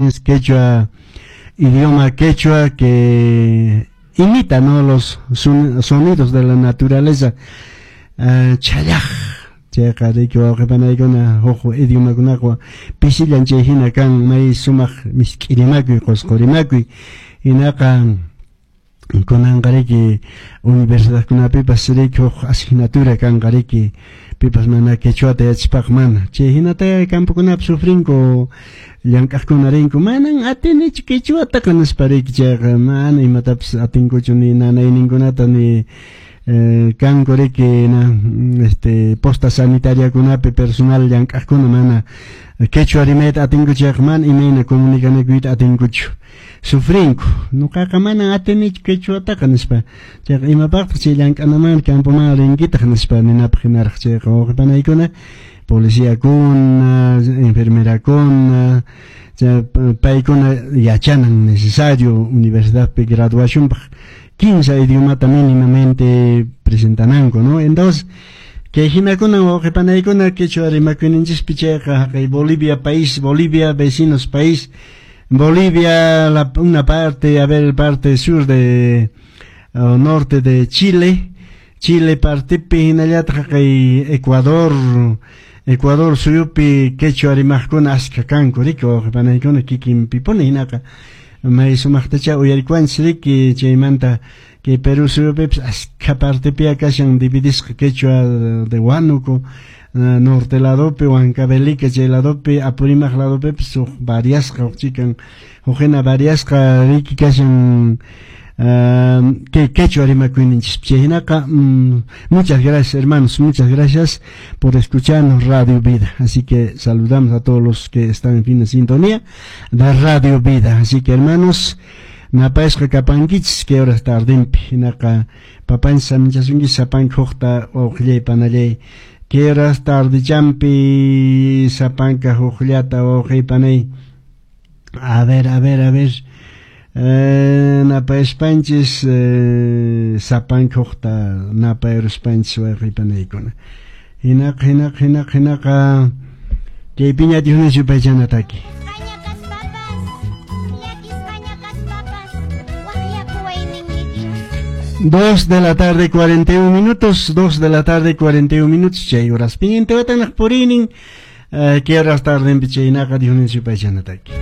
Es quechua, idioma quechua que imita, ¿no?, los sonidos de la naturaleza. Chhallaq chayqa riki wawqi panaykuna huk idiomakunaqa pisillan chay hina kan may sumaq misk'i rimakuy qusqu rimakuy hinaqa kunanqa riki universidadkunapipas riki huk asignatura kanqa riki pipas mana quechuata yachaspaqa mana chay hinata campokunapi sufrinku llank'aqkuna rinku manan atinichu quechuataqa nispa riki chayqa mana imatapas atinkuchu ni nanayninkunata ni kanku riki na posta sanitariakunapi personal llank'aqkuna mana quechua rimayta atinkuchu chayqa mana imayna comunicanakuyta atinkuchu sufrinku nuqaqa manan atinichu quechuataqa nispa chayqa imapaqtaq chay llank'anaman campoman rinkitaq nispa ninapaq hinaraq chayqa wawqi panaykuna policiakuna enfermerakuna paykuna yachanan necesario universidadpi graduacionpaq 15 idiomata mínimamente presentananku, ¿no? Entonces kay hinakunan wawqi panaykuna quechua rimakuyninchispi chayqa haqay Bolivia país, Bolivia vecinos país, Bolivia, una parte, a ver, parte sur de norte de Chile, Chile partepi hinallataq haqay Ecuador, Ecuador suyupi quechua rimaqkuna askha kanku riki wawqi panaykuna kikinpipuni hinaqa may sumaqtacha uyarikuwanchis riki chaymanta kay Perú suyupipas askha partepia kashan dividisqa quechua de Huánuco norte ladopi Huancavelica chay ladopi Apurímac ladopipas huk variasqa huk chikan huk hina variasqa riki kashan que quechua rimakuyninchis chay hinaqa muchas gracias, hermanos, muchas gracias por escucharnos, Radio Vida. Así que saludamos a todos los que están en fin de sintonía de Radio Vida. Así que, hermanos, napayasqa kapankichis kay horas tardinpi hinaqa papanchis saminchasunki sapanka hukta wawqillay panallay kay horas tardichampi sapanka hukllata wawqiy panay. A ver, a ver, a ver, napayaspanchis sapanka hukta napayaruspanchis wawqiy panaykuna hinaqa hinaqa hinaqa hinaqa kaypiña Dios yupaychana taki. Llakisqaña kaspapas, llakisqaña kaspapas, waqyakuway ninki. 2 de la tarde, 41 minutos, 2 de la tarde, 41 minutos, chay horas pin watanaq purinin, kay horas tardenpi chaynaqa Dios yupaychana taki.